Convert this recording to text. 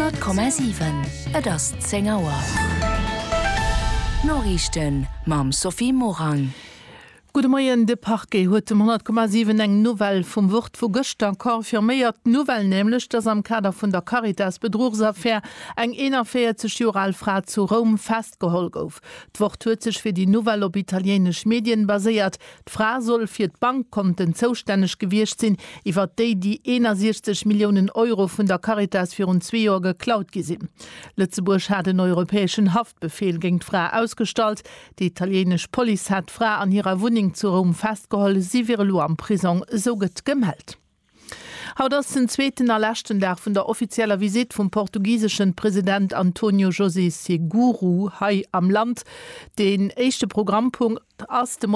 100,7 Et ass 10 Auer. D'Noriichten mam Sophie Morang. Gudde Moien, De Parquet huet um 100,7 eng Nouvelle vum Wort vu gëschter confirméiert. D'Nouvelle nämlech, dass am Kader vun der Caritas-Bedruchsaffär eng 41 Joer al Fra zu Roum festgeholl gouf. D'Wort huet sech fir déi Nouvelle op italiéinesch Medien baséiert. D'Fra soll fir d'Bankkonten zoustänneg gewiescht sinn, iwwer déi déi 61 Milliounen Euro vun der Caritas virun zwee Joer geklaut gi sinn. Lëtzebuerg hat en europäeschen Haftbefeel géint d'Fra ausgestallt. Déi italiéinesch Police hat d'Fra an hirer Wunneng zu Roum festgeholl. Si wier elo am Prisong, esou gëtt gemellt. Haut ass den zweeten a leschten Dag vun der offizieller Visitt vum portugiseschen President Antonio José Seguro hei am Land. Deen éischte Programmpunkt ass de.